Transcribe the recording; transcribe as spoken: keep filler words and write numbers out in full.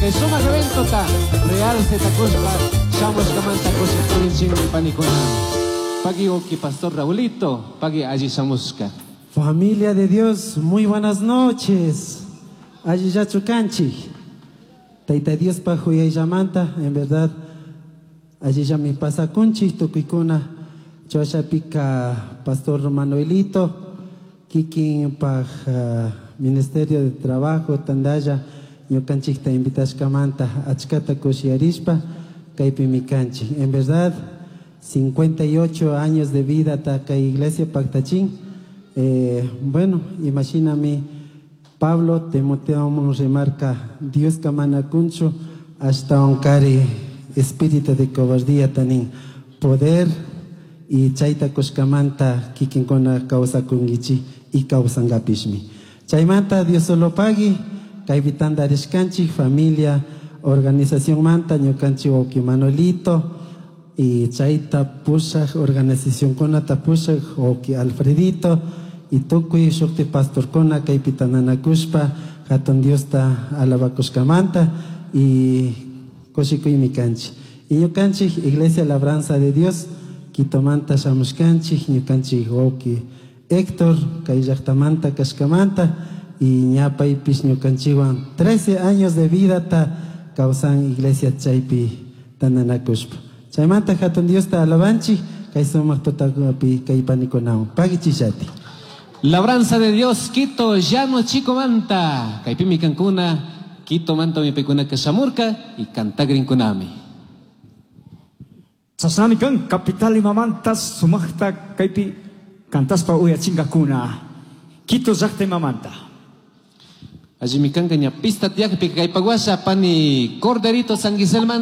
Kay sumaq eventota realce takuspa shamushkamanta kushikurinchikmi panikuna. Pagui wawki Pastor Raulito, pagui alli shamushka. Familia de Dios, muy buenas noches. Allillachu kanchik. Tayta Diospa huyayllamanta, en verdad, allillami pasakunchik tukuykuna. Chashapika Pastor Manuelito, kikin paj uh, Ministerio de Trabajo, tandalla, ñukanchikta invitashkamanta achkata kushiyarishpa, kaypimi kanchik. En verdad, cincuenta y ocho años de vida ta kay iglesia paktachin. Eh, bueno, imagíname Pablo Timoteo remarca Dios mana kunchu ashtahuancarin espíritu de cobardía tanin poder y chayta kushkamanta kikinkuna kawsakunkichik y kawsankapishmi. Chaymanta Dios solo pagui kaypi tantarishkanchik familia organización manta ñukanchik wawqi Manuelito y chayta pushak organizacionkunata pushak wawqi Alfredito y tukuy shukti pastorkuna kaypi tantanakushpa hatun Diosta alabakushkamanta y kushikuymi kanchik. Y ñukanchik Iglesia Labranza de Dios Quitomanta shamushkanchik ñukanchik wawqi Héctor kay llaqtamanta kashkamanta y ñapaypish ñukanchikwan trece años de vida ta kawsan iglesia chaypi tantanakushpa. Chaymanta hatun Diosta alabanchik kay sumaq tutapi kay panikunawan. Pagichillati. Labranza de Dios, Quito, Llano Chico Manta. Kaypimi kankuna, Quito manta mipikuna kashamurka y kantagrinkunami. Chashnami kan capital imamanta sumaqta kaypi kantaspa uyachinkakuna. Quito llaqta imamanta. Allimi kanka ña pista tiyakpi kaypaguasha pani Corderito San Manta.